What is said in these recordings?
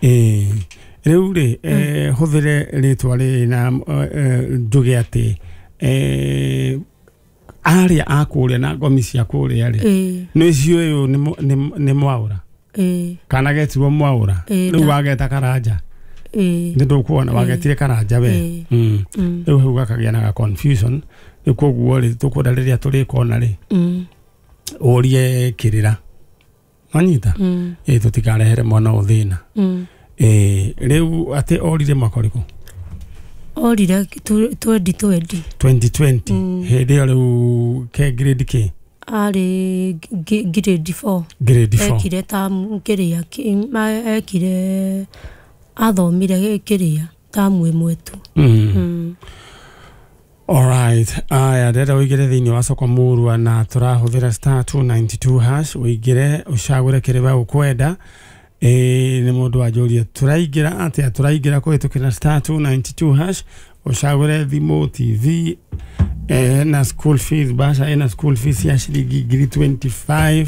Ĩĩ, rĩu rĩ, hũthĩre rĩtwa rĩrĩ na njuge atĩ arĩa a kũrĩa na ngomi cia kũrĩa rĩ, nĩ ciũĩ ũyũ nĩ Mwaũra, kana getirwo Mwaũra. Rĩu wageta Karanja, nĩ ndũkuona wagetire Karanja we. Rĩu hau gakagĩa na ga confusion. Rĩu koguo rĩ, tũkwenda rĩrĩa tũrĩkona rĩ, ũrie kĩrĩra wanyita. Ĩ, tũtikarehere mwana ũyũ thĩna. Ĩ, rĩu atĩ orire mwaka ũrĩkũ? Orire 2020. 2020. Hĩndĩ ĩyo rĩu ke grade k? Arĩ grade 4. Grade 4. Ekire tamu kĩrĩa ekire, athomire kĩrĩa tamu ĩmwe tu. Alright, aya, ndĩrenda ũingĩre thĩinĩ wa soko murwa na tũrahũthĩra *292# ũingĩre ũcagũre kĩrĩa we ũkwenda. Ĩĩ, nĩ mũndũ wanjũria tũraingĩra atĩa. Tũraingĩra kũhĩtũkĩra *292# ũcagũre thimũ, TV, na school fees basha, ĩna school fees ya ciringi ngiri 25,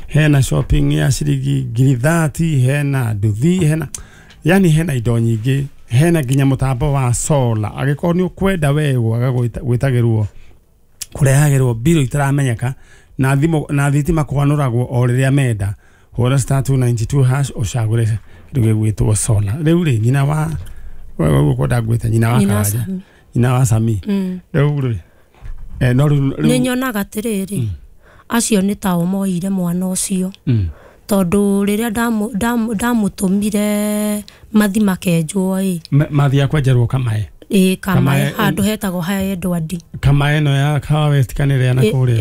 hena shopping ya ciringi ngiri 30, hena nduthi, hena yani hena indo nyingĩ, hena nginya mũtambo wa solar angĩkorwo nĩ ũkwenda we gwaga gwĩtagĩrwo kũrehagĩrwo mbirũ itaramenyeka na thimũ na thitima kwanũragwo o rĩrĩa menda. Hũra *292# ũcagũre kĩndũ gĩgwĩtwo solar. Rĩu rĩ, nyina wa ũkwenda ngwĩte nyina wa Nyina Karanja? Sami. Nyina wa Sami. Rĩu rĩ, no rĩu Nĩ nyonaga atĩrĩrĩ, acio nĩ tao moire mwana ũcio, tondũ rĩrĩa ndamũtũmire mathi makenjwo ĩ. Mathiaga kwenjerwo Kamae? Ĩ, Kamae. Kamae. Handũ hetagwo ha Edward. Kamae ĩno ya Kahawa West kana ĩrĩa na kũrĩa?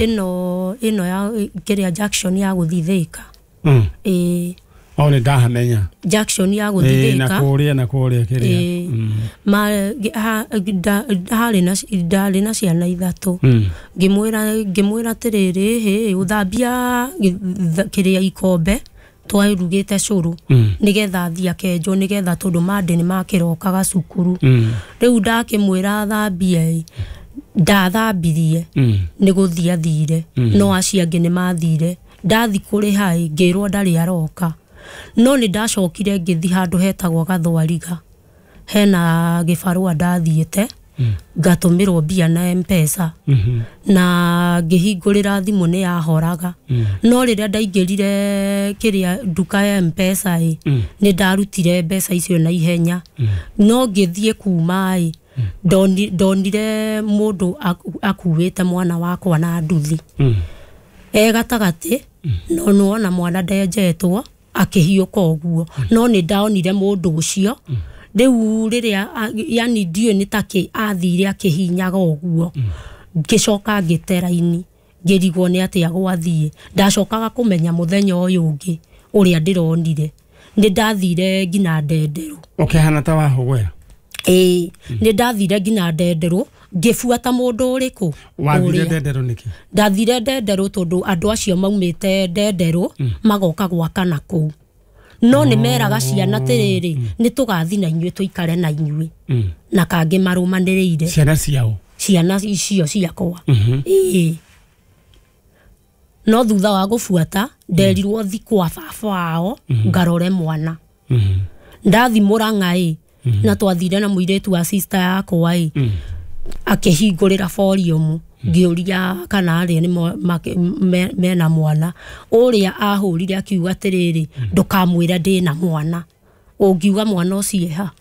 Ĩno ya kĩrĩa, junction ya gũthiĩ Thĩka. Ĩ. O, nĩ ndahamenya. Junction ya Ĩ, gũthiĩ na Thĩka. kũrĩa na kũrĩa kĩrĩa. Ĩ. Harĩ na ndarĩ na ciana ithatũ. Ngĩmwĩra atĩrĩrĩ, hĩ, ũthambia kĩrĩa ikombe twarugĩte cũrũ, nĩgetha athiĩ akenjwo, nĩgetha tondũ mandĩ nĩ makĩrokaga cukuru. Rĩu ndakĩmwĩra athambie ĩ, ndathambirie. Nĩ gũthiĩ athire, no acio angĩ nĩ mathire. Ndathi kũrĩha ĩ, ngĩrwo ndarĩ aroka. No nĩ ndacokire ngĩthi handũ hetagwo Gathwariga, hena gĩbarũa ndathiĩte ngatũmĩrwo mbia na Mpesa, na ngĩhingũrĩra thimũ nĩ yahoraga. No rĩrĩa ndaingĩrire kĩrĩa nduka ya Mpesa ĩ, nĩ ndarutire mbeca icio na ihenya. No ngĩthiĩ kuma ĩ, ndonire mũndũ akuĩte mwana wakwa na nduthi e gatagatĩ, no nĩwona mwana ndenjetwo akĩhiũka ũguo. No nĩ ndonire mũndũ ũcio rĩu rĩrĩa yani ndiũĩ nĩ takĩ athire akĩhinyaga ũguo. Ngĩcoka ngĩte raini, ngĩrigwo nĩ atĩa gwathiĩ. Ndacokaga kũmenya mũthenya ũyũ ũngĩ ũrĩa ndĩronire nĩ ndathire nginya Ndenderũ. Ũkĩhana ta wahũgwera? Ĩĩ, nĩ ndathire nginya Ndenderũ ngĩbuata mũndũ ũrĩkũ. Wathire Ũrĩa. Ndenderũ nĩkĩ? Ndathire Ndenderũ tondũ andũ acio maumĩte Ndenderũ magoka gwaka na kũu, no nĩ meraga ciana atĩrĩrĩ, nĩ tũgathi na inyuĩ, tũikare na inyuĩ, na kangĩ marũmanĩrĩire. Ciana ciao? Ciana icio ciakwa. Ĩĩ, no thutha wa gũbuata nderirwo thi kwa baba wao ngarore mwana. Ndathi Mũrang'a ĩ, na twathire na mũirĩtu wa sister yakwa ĩ, akĩhingũrĩra boriũmu, ngĩũria kana arĩa nĩ mena mwana. Ũrĩa ahũrire akiuga atĩrĩrĩ, ndũkamwĩre ndĩna mwana, ũngiuga mwana ũcio ha.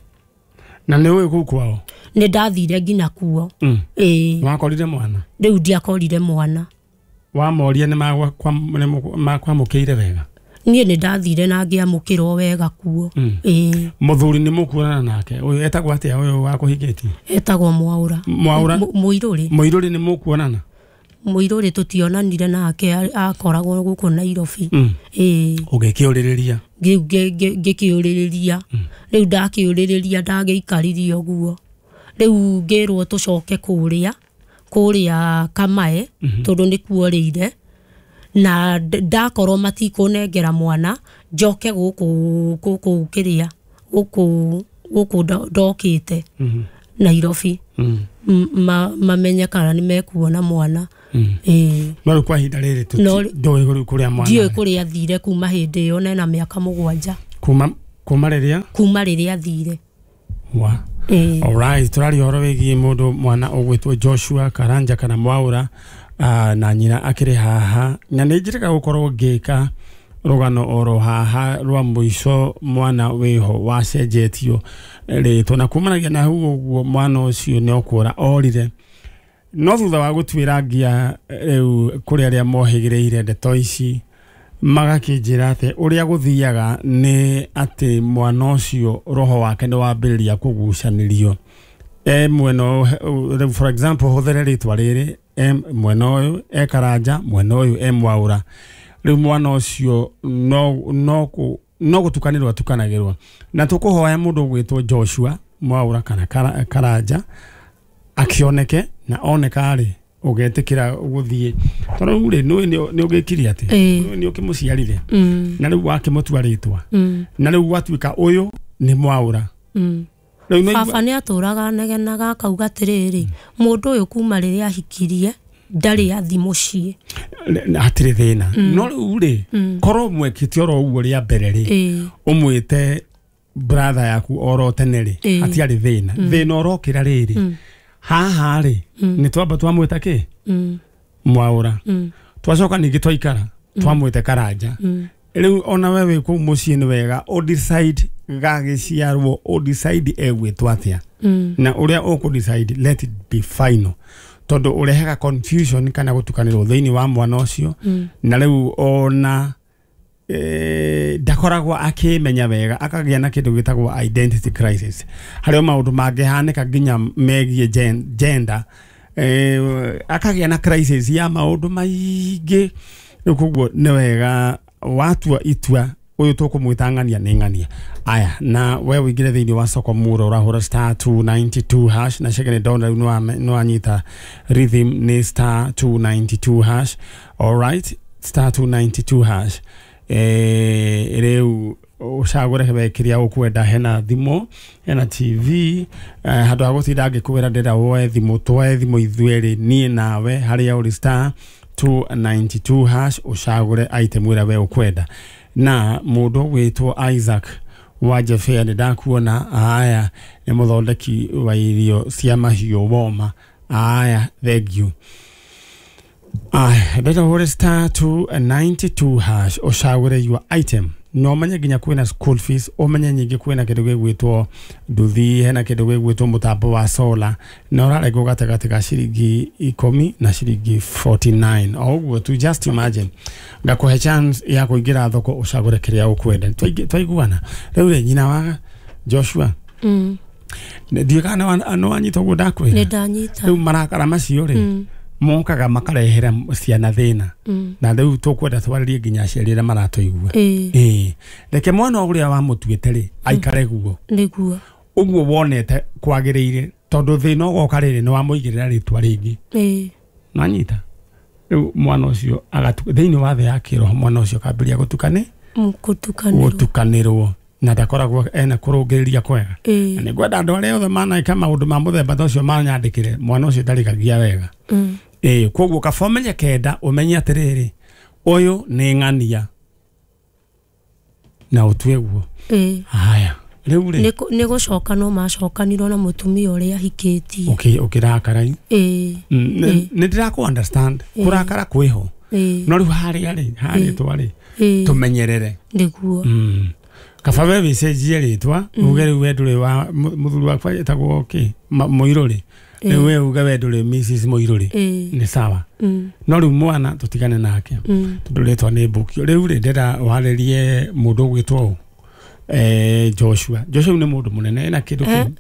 Na nĩ ũĩ kũu kwao? Nĩ ndathire nginya kuo. Ĩĩ. Wakorire mwana? Rĩu ndiakorire mwana. Wamoria nĩ makwamũkĩire wega? Niĩ nĩ ndathire na ngĩamũkĩrwo wega kuo. Ĩĩ. Mũthuri nĩ mũkuonana nake? Ũyũ etagwo atĩa, ũyũ wakũhingĩtie? Etagwo Mwaũra. Mwaũra. Mũirũrĩ. Mũirũrĩ nĩ mũkuonana? Mũirũrĩ tũtionanire nake, akoragwo gũkũ Nairobi. Ĩĩ. Ũgĩkĩũrĩrĩria? Rĩu ngĩkĩũrĩrĩria, rĩu ndakĩũrĩrĩria, ndagĩikarire ũguo. Rĩu ngĩrwo tũcoke kũrĩa Kamae, tondũ nĩ kuorĩire na ndakorwo matikũnengera mwana, njoke gũkũ kĩrĩa gũkũ ndokĩte Nairobi, mamenye kana nĩ mekuona mwana. Ĩĩ. No rĩu kwa ihinda rĩrĩ No ndũĩ rĩu kũrĩa mwana Ndiũĩ arĩ. kũrĩa athire kuma hĩndĩ ĩyo, na ena mĩaka 7. Kuma Kuma rĩrĩa? Kuma rĩrĩa athire. Wa. Alright, tũraria ũhoro wĩgiĩ mũndũ mwana ũgwĩtwo Joshua Karanja kana Mwaura, na nyina akĩrĩ haha, na nĩ njĩrĩga gũkorwo ngĩka rũgano oro haha rwa mũico mwana wĩho wacenjetio rĩtwa, na kumanagia na hau ũguo mwana ũcio nĩ okũra orire. No thutha wa gũtuĩra ngia rĩu kũrĩ arĩa mohĩgĩrĩire ndeto ici, magakĩnjĩra atĩ ũrĩa gũthiaga nĩ atĩ mwana ũcio roho wake nĩ wambĩrĩria kũgucanĩrio. Mwena ũyũ, for example, hũthĩre rĩtwa rĩrĩ, mwena ũyũ e Karanja, mwena ũyũ e Mwaura. Rĩu mwana ũcio no gũtukanĩrwo atukanagĩrwo. Na tũkũhoya mũndũ ũgwĩtwo Joshua Mwaura kana Karanja akĩoneke, na oneka rĩ ũgetĩkĩra gũthiĩ. Tondũ rĩu rĩ, nĩ ũgĩkirie atĩ nĩ ũkĩmũciarire, na rĩu wakĩmũtua rĩtwa, na rĩu gwatuĩka ũyũ nĩ Mwaura. Baba nĩ atũraga anegenaga akauga atĩrĩrĩ, mũndũ ũyũ kuma rĩrĩa ahikirie ndarĩ athi mũciĩ, hatirĩ thĩna. No rĩu rĩ, korwo mwekĩte oro ũguo rĩa mbere rĩ, ũmwĩte brother yaku oro tene rĩ, hatiarĩ thĩna. Thĩna ũrokĩra rĩrĩ, haha rĩ, nĩ twamba twamwĩta kĩ? Mwaura. Twacoka ningĩ twaikara twamwĩte Karanja. Rĩu ona we wĩ kũu mũciĩ nĩ wega ũdecide gagĩciarwo, ũdecide egwĩtwo atĩa, na ũrĩa ũkũdecide let it be final, tondũ ũrehaga confusion kana gũtukanĩrwo thĩinĩ wa mwana ũcio. Na rĩu ona ndakoragwo akĩmenya wega, akagĩa na kĩndũ gĩtagwo identity crisis, harĩa maũndũ mangĩhanĩka nginya megiĩ gender, akagĩa na crisis ya maũndũ maingĩ. Rĩu koguo nĩ wega watua itua ũyũ tũkũmwĩta ng'ania nĩ ng'ania. Aya, na we ũingĩre thĩinĩ wa soko muro ũrahũra star 292 hash, na cege nĩ ndona rĩu nĩ wanyita rhythm nĩ star 292 hash. Alright, star 292 hash. Rĩu ũcagũre we kĩrĩa ũkwenda, hena thimũ, hena TV, handũ ha gũtinda ngĩkwĩra ndĩrenda woe thimũ, twoe thimũ ithuerĩ niĩ nawe, harĩa ũrĩ star 292 hash ũcagũre item ĩrĩa we ũkwenda. Na mũndũ ũgwĩtwo Isaac wa Jefea nĩ ndakuona, aya nĩ mũthondeki wa irio cia mahiũ woma, aya thank you. Aya, ndĩrenda ũhũre star 292 hash ũcagũre your item. No ũmenye nginya kwĩna school fees, ũmenye nyingĩ kwĩna kĩndũ gĩgwĩtwo nduthi, hena kĩndũ gĩgwĩtwo mũtambo wa solar, na ũrarengwo gatagatĩ ka ciringi 10 na ciringi 49. O ũguo tu, just imagine ngakũhe chance ya kũingĩra thoko ũcagũre kĩrĩa ũkwenda. Twaiguana rĩu rĩ, nyina wa Joshua, ndiũĩ kana nĩ wanyita ũguo ndakwĩra. Nĩ ndanyita. Rĩu marakara macio rĩ, mokaga makarehera ciana thĩna, na rĩu tũkwenda twarĩrie nginya aciari arĩa maratũigua. Reke mwana ũrĩa wamũtuĩte rĩ aikare guo nĩguo ũguo wonete kwagĩrĩire, tondũ thĩna ũgoka rĩrĩ nĩ wamũigĩrĩra rĩtwa rĩngĩ. Nanyita rĩu mwana ũcio thĩinĩ wa thĩ ya kĩroho, mwana ũcio akambĩrĩria gũtukanĩrwo, na ndakoragwo ena kũrũngĩrĩria kwega. Na nĩngwenda andũ arĩa othe manaĩka maũndũ ma mũthemba ta ũcio manyandĩkĩre, mwana ũcio ndarĩkagia wega. Koguo kaba ũmenye kenda, ũmenye atĩrĩrĩ, ũyũ nĩ ng'ania, na ũtue guo. Haya, rĩu rĩ, nĩ gũcoka no macokanirwo na mũtumia ũrĩa ahikĩtie. Ũkĩrakara. Nĩ ndĩrakũ understand, kũrakara kwĩho, no rĩu harĩa rĩ, harĩtwa rĩ, tũmenyerere nĩguo. Kaba we wĩcenjie rĩtwa, uge rĩu we ndũrĩ wa mũthuri wakwa etagwo kĩ, Mũirũrĩ, rĩu we uge we ndũrĩ Mrs Mũirũrĩ, nĩ sawa. No rĩu mwana tũtigane nake, tondũ rĩtwa nĩ mbũkio. Rĩu rĩ, ndĩrenda warĩrie mũndũ ũgwĩtwo Joshua. Joshua nĩ mũndũ mũnene, ena kĩndũ kĩu.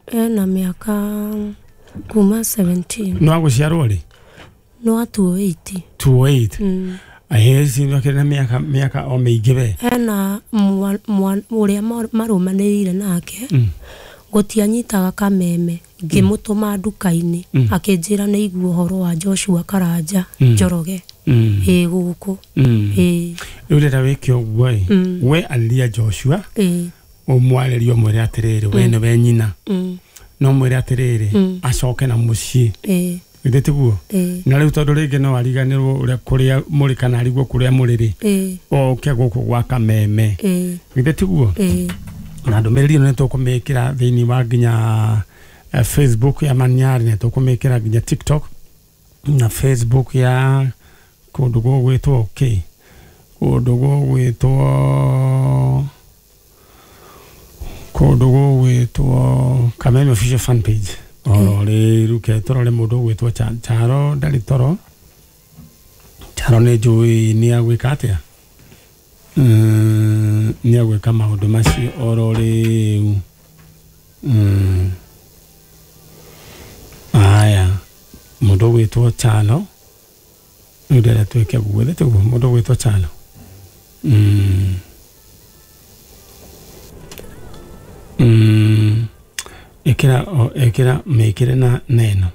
Ena mĩaka kuma 17. No agũciarwo rĩ? No 208. 208. Ahezi no kĩrĩ na mĩaka o mĩingĩ we. Ena ũrĩa marũmanĩrĩire nake, gũtianyitaga kameme, ngĩmũtũma nduka-inĩ, akĩnjĩra nĩ igua ũhoro wa Joshua Karanja Njoroge ĩ gũkũ. Rĩu rĩrĩa wĩke ũguo ĩ, we arĩria Joshua, ũmwarĩrie ũmwĩre atĩrĩrĩ, we nĩwe nyina, no mwĩre atĩrĩrĩ, acoke na mũciĩ. Githĩ tiguo? Na rĩu tondũ rĩngĩ no ariganĩrwo ũrĩa kũrĩa mũrĩ kana arigwo kũrĩa mũrĩ rĩ, oke gũkũ gwa Kameme. Githĩ tiguo? Na ndũmĩrĩri ĩno nĩ tũkũmĩkĩra thĩinĩ wa nginya Facebook ya Maniari, nĩ tũkũmĩkĩra nginya TikTok na Facebook ya kũndũ gũgwĩtwo kĩ, kũndũ gũgwĩtwo Kameme official fan page. Oro rĩu ke tũrore mũndũ ũgwĩtwo Charo ndarĩ toro. Charo nĩ njũĩ nĩ agwĩka atĩa? Nĩ agwĩka maũndũ macio oro rĩu. Aya, mũndũ ũgwĩtwo Chalo rĩu ndĩrenda twĩke guo, githĩ tiguo? Mũndũ ũgwĩtwo Chalo. Ĩkĩra mĩkĩre na neno.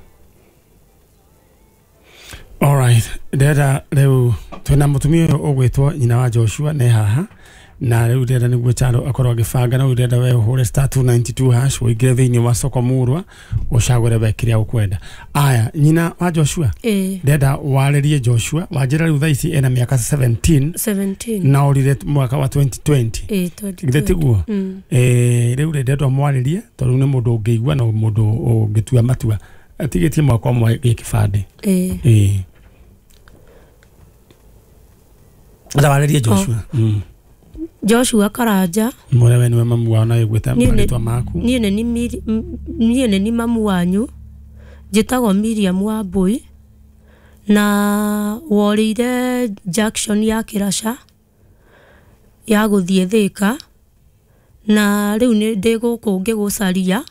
Alright, ndĩrenda rĩu twĩna mũtumia ũyũ ũgwĩtwo nyina wa Joshua nĩ haha, na rĩu ndĩrenda nĩguo Chalo akorwo agĩbanga, na rĩu ndĩrenda we ũhũre *292 hash ũingĩre thĩinĩ wa soko murwa ũcagũre we kĩrĩa ũkwenda. Aya, nyina wa Joshua, ndĩrenda warĩrie Joshua, wanjĩra rĩu thaa ici ena mĩaka 17 na ũrire mwaka wa 2020. Githĩ tiguo? Rĩu rĩ ndĩrenda ũmwarĩrie tondũ nĩ mũndũ ũngĩigua na mũndũ ũngĩtua matua atigĩtie mwaka ũmwe gĩ kĩbandĩ. Warĩrie Joshua. Joshua Karanja. Mwĩre we nĩwe mamu wao na wĩgwĩte marĩtwa maku. Niĩ nĩ mamu wanyu, njĩtagwo Miriam Wambui na worĩire junction ya Kĩraca ya gũthiĩ Thĩka, na rĩu nĩ ndĩ gũkũ ngĩgũcaria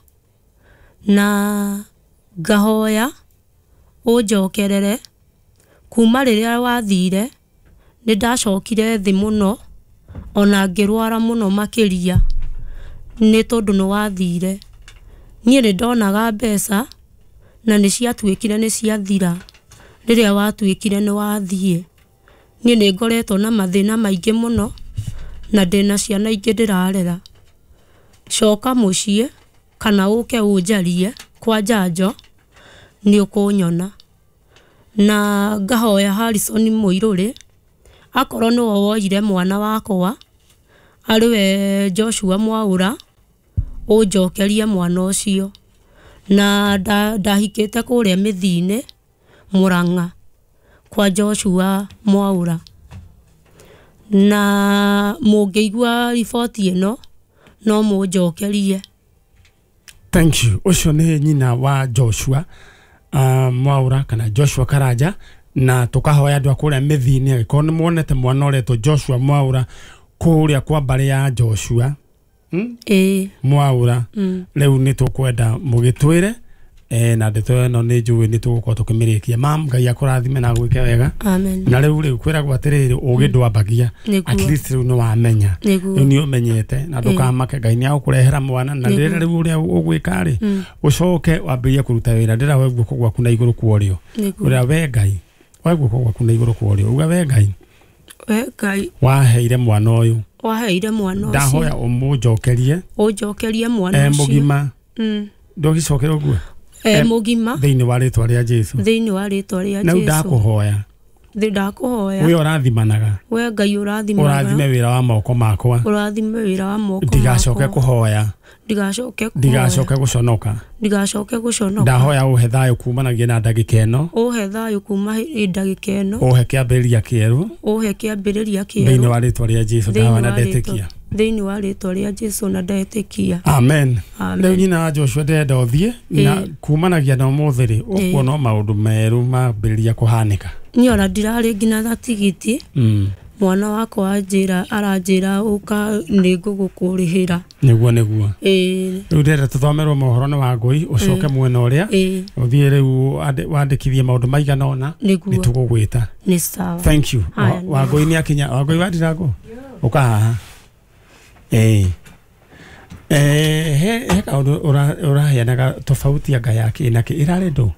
na ngahoya ũnjokerere. Kuma rĩrĩa wathire nĩ ndacokire thĩ mũno ona ngĩrwara mũno makĩria nĩ tondũ nĩ wathire. Niĩ nĩ ndonaga mbeca na nĩ ciatuĩkire nĩ ciathira rĩrĩa watuĩkire nĩ wathiĩ. Niĩ nĩ ngoretwo na mathĩna maingĩ mũno na ndĩna ciana ingĩ ndĩrarera. Coka mũciĩ kana ũke ũnjarie kwa njanjo nĩ ũkũnyona. Na ngahoya Harrison Mũirũrĩ akorwo nĩwe woire mwana wakwa arĩ we Joshua Mwaũra, ũnjokerie mwana ũcio. Na ndahikĩte kũrĩa Mĩthiinĩ Mũrang'a kwa Joshua Mwaũra. Na mũngĩigua riboti ĩno no mũnjokerie. Thank you. Ũcio nĩ nyina wa Joshua Mwaũra kana Joshua Karanja, na tukahoya andũ a kũrĩa Mĩthiinĩ angĩkorwo nĩ muonete mwana ũretwo Joshua Mwaũra kũrĩa kwa mbarĩ ya Joshua Mwaũra, rĩu nĩ tũkwenda mũgĩtwĩre na ndeto ĩno nĩ njũĩ nĩ tũgũkorwo tũkĩmĩrĩkia. Mam, Ngai akũrathime na agwĩke wega. Amen. Na rĩu kwĩragwo atĩrĩrĩ, ũgĩ ndwambagia, at least rĩu nĩ wamenya, rĩu nĩ ũmenyete, na ndũkamake, Ngai nĩ agũkũrehera mwana. Na rĩrĩa rĩu ũrĩa ũgwĩka rĩ, ũcoke wambĩrĩrie kũruta wĩra. Ndĩra we guoko gwaku na igũrũ kwa ũrĩo, ũrĩa we Ngai, we guoko gwaku na igũrũ kwa ũrĩo, uga we Ngai, we Ngai waheire mwana ũyũ, waheire mwana ũcio, ndahoya ũmũnjokerie, ũnjokerie mwana ũcio mũgima. Ndũgĩcokere ũguo mũgima, thĩinĩ wa rĩtwa rĩa Jesu, thĩinĩ wa rĩtwa rĩa Jesu. Na ndakũhoya, ndakũhoya, we ũrathimanaga, we Ngai ũrathimanaga, ũrathime wĩra wa moko makwa, ũrathime wĩra wa moko makwa, ndigacoke kũhoya, ndigacoke gũconoka, ndigacoke gũconoka. Ndahoya ũhe thayũ kumanagia na ndagĩka ĩno, ũhe thayũ kuma ndagĩka ĩno, ũhe kĩambĩrĩria kĩerũ, ũhe kĩambĩrĩria kĩerũ thĩinĩ wa rĩtwa rĩa Jesu. Ndahoya na ndetĩkia thĩinĩ wa rĩtwa rĩa Jesu na ndetĩkia. Amen. Rĩu nyina wa Joshua ndĩrenda ũthiĩ na kumanagia na ũmũthĩ rĩ, ũkuona maũndũ merũ mambĩrĩria kũhanĩka. Niĩ ona ndirarĩ nginya na tigiti. Mwana wakwa anjĩra, aranjĩra ũka nĩ ngũgũkũrĩhĩra. Nĩguo nĩguo. Rĩu ndĩrenda tũthomerwo mohoro nĩ Wangũi, ũcoke mwena ũrĩa ũthiĩ rĩu wandĩkithie maũndũ maigana ũna, nĩ tũgũgwĩta. Nĩ sawa. Thank you. Wangũi nĩ akinya. Wangũi wa Ndirango, ũka haha. He kaũndũ ũraheanaga tofauti anga ya kĩ na kĩ ĩrarĩ ndũ?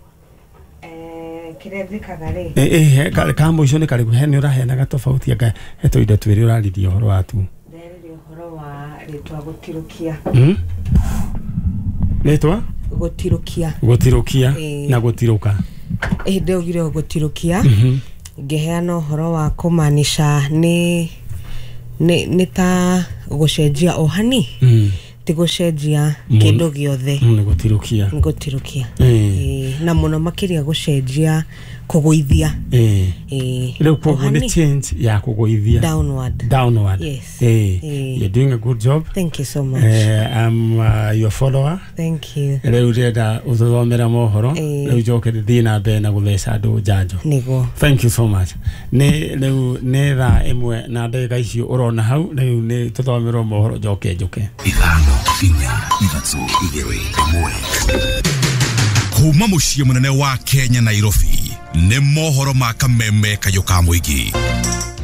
Kĩrĩa njĩkaga rĩ, ka mũico nĩ karĩkũ? He nĩ ũraheanaga tofauti anga he tũindo twĩrĩ ũraririe ũhoro wa tu. Ndĩraririe ũhoro wa rĩtwa gũtirũkia. Rĩtwa gũtirũkia, gũtirũkia na gũtirũka. Ĩndĩ augire gũtirũkia, ngĩheana ũhoro wa kũmaanisha nĩ ta gũcenjia ohani, ti gũcenjia kĩndũ gĩothe. Nĩ gũtirũkia. Nĩ gũtirũkia. Na mũno makĩria gũcenjia, kũgũithia. Rĩu koguo nĩ change ya kũgũithia. Downward. Downward. Yes. You're doing a good job. Thank you so much. I'm your follower. Thank you. Rĩu ndĩrenda ũtũthomera mohoro, rĩu njoke thiĩ na mbere na gũtheca andũ njanjo. Nĩguo. Thank you so much. Nĩ rĩu nĩ thaa 1 na ndagĩka icio ũrona hau, rĩu nĩ tũthomerwo mohoro njoke njũke. 5 4 3 2 1. Kuma mũciĩ mũnene wa Kenya Nairobi, nĩ mohoro ma kameme kayũ ka mũingĩ.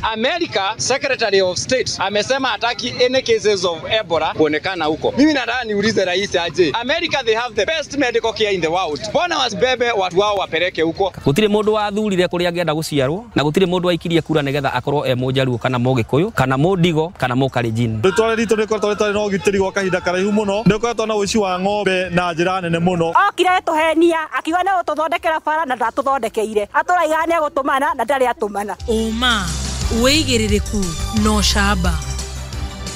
America Secretary of State amesema hataki any cases of Ebola kuonekana huko. Mimi nataka niulize rais aje. America, they have the best medical care in the world. Mbona wasibebe watu wao wapeleke huko? Gutire mundu wathurire kuria angĩenda guciarwo, na gutire mundu waikirie kura nigetha akorwo e Mũjaluo kana Mũgĩkũyũ kana Mũndigo kana Mũkalenjin. Rĩtwa ritũ rĩkoretwo rĩtarĩ na ũgitĩri gwa kahinda karaihu mũno, nĩ ũkoretwo na ũici wa ng'ombe na njĩra nene mũno. Okire tũhenia akiuga nĩ gũtũthondekera bara na ndatũthondekeire, atũraiga nĩ egũtũmana na ndarĩ atũmana. Ũma wĩigĩrĩrĩku no camba.